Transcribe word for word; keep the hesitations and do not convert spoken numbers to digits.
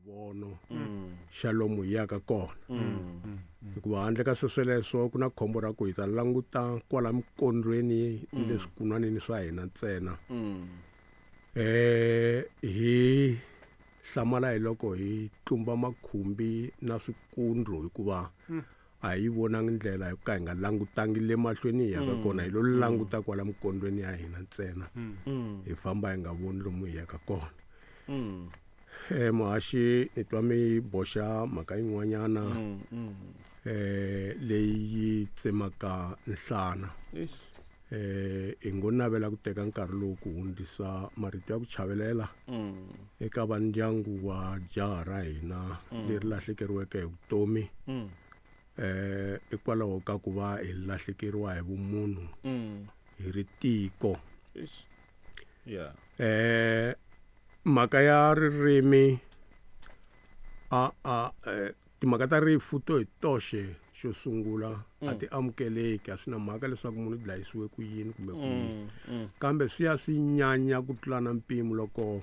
Xivono xa lomu hi yaka kona, hikuva handle ka swesweleswo ku na khombo ra ku hi ta languta kwala mikondlweni ni le swikunwanini swa hina ntsena, eh hi hlamala hi loko hi tlumba makhumbi na swikundlu, hikuva a hi vonangi ndlela hi ku ka hi nga langutangi le mahlweni hi yaka kona, hi lo languta kwala mikondlweni ya hina ntsena, hi famba hi nga voni lomu hi yaka kona. Eh muhaxi, ni twa mi boxa mhaka yin'wanyana eh leyi tsemaka nhlana. Eh hi ngo navela ku teka nkarhi lowu ku hundzisa marito ya ku chavelela eka vandyangu wa jaha ra hina leri lahlekeriweke hi vutomi, eh hikwalaho ka ku va hi lahlekeriwa hi vumunhu hi ri tiko. Yeah. Eh mhaka ya ririmi a a timhaka ta rifu to hi toxe xo sungula a ti amukeleki, a swi na mhaka leswaku munhu u dlayisiwe ku yini kumbe ku yini, kambe swi ya swi nyanya ku tlula na mpimo loko